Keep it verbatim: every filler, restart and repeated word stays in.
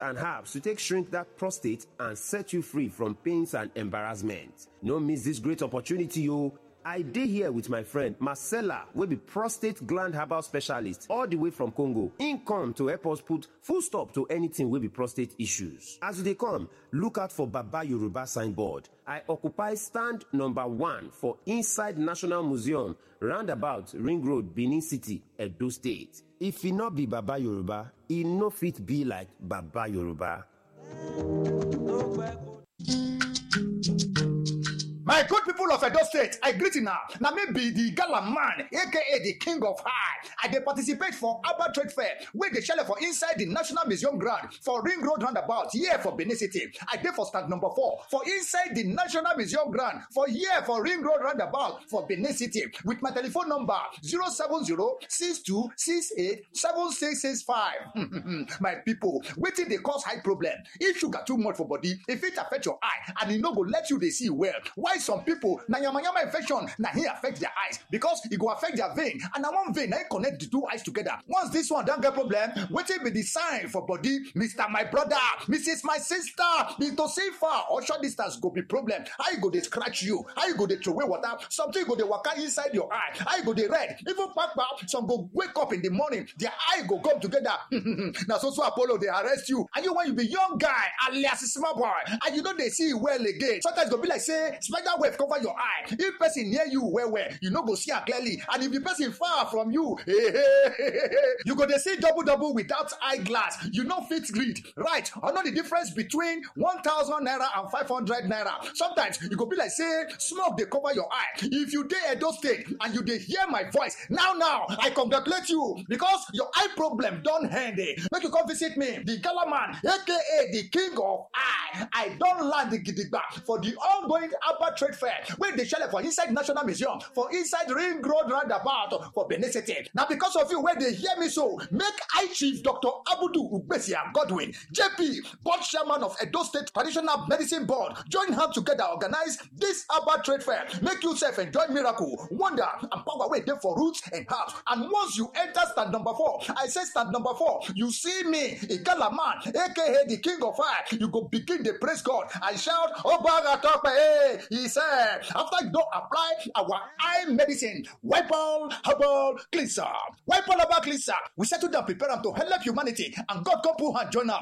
and herbs to take shrink that prostate and set you free from pains and embarrassment. No miss this great opportunity, yo. I dey here with my friend Marcella, wey be prostate gland herbal specialist all the way from Congo. Im come to help us put full stop to anything wey be prostate issues. As you dey come, look out for Baba Yoruba signboard. I occupy stand number one for inside National Museum, roundabout Ring Road, Benin City, Edo State. If e no be Baba Yoruba, e no fit be like Baba Yoruba. My good people of Edo State, I greet you now. Now me be the gala man, A K A the king of high. I dey participate for Abba Trade Fair, wey dey shele for inside the National Museum ground for Ring Road roundabout, here for Benin City. I dey for stand number four for inside the National Museum ground for here for Ring Road roundabout for Benin City with my telephone number zero seven zero six two six eight seven six six five. My people, wetin dey cause high problem? If sugar too much for body, e fit affect your eye and e no go let you dey see well. Why some people na yamayama infection na hin affect their eyes, because e go affect their vein and na one vein na hin connect the two eyes together. Once this one don get problem, wetin be the sign for body? Mister My brother, Missus My sister, be to see far or short distance go be problem. How you go dey scratch you? How you go dey throway water? Something go dey waka inside your eye. How you go dey red? Even kpakpa, some go wake up in the morning, their eye go come together. Na so so Apollo dey arrest you. And you, when you be young guy, alias small boy, and you no dey see well again. Sometimes go be like say spider web cover your eye. If person near you well well, you no go see am clearly. And if the person far from you, you go dey see double double without eyeglass. You no fit read, right? I know the difference between one thousand naira and five hundred naira. Sometimes you go be like say smoke dey cover your eye. If you dey Edo State and you dey hear my voice now now, I congratulate you because your eye problem don end. Eh. Make you come visit me, the gala man, A K A the king of eye. I don land gidigba for the ongoing Abba Trade Fair wey dey shele for inside National Museum, for inside Ring Road roundabout for Benin City. Na because of you wey dey hear me so, make High Chief Doctor Abudu Ugbesia Godwin, J P, board chairman of Edo State Traditional Medicine Board, join hand together organize this Abba Trade Fair. Make yourself enjoy miracle, wonder, and power wey dey for roots and herbs. And once you enter stand number four, I say stand number four, you see me, Igala man, A K A the king of fire, you go begin dey praise God and shout, "Obaga Tope, eh," he said. After you don apply our eye medicine, Wipe All Herbal Cleanser. Wipe All Herbal Cleanser, we settle down, prepare am to help humanity, and God come put hand join am.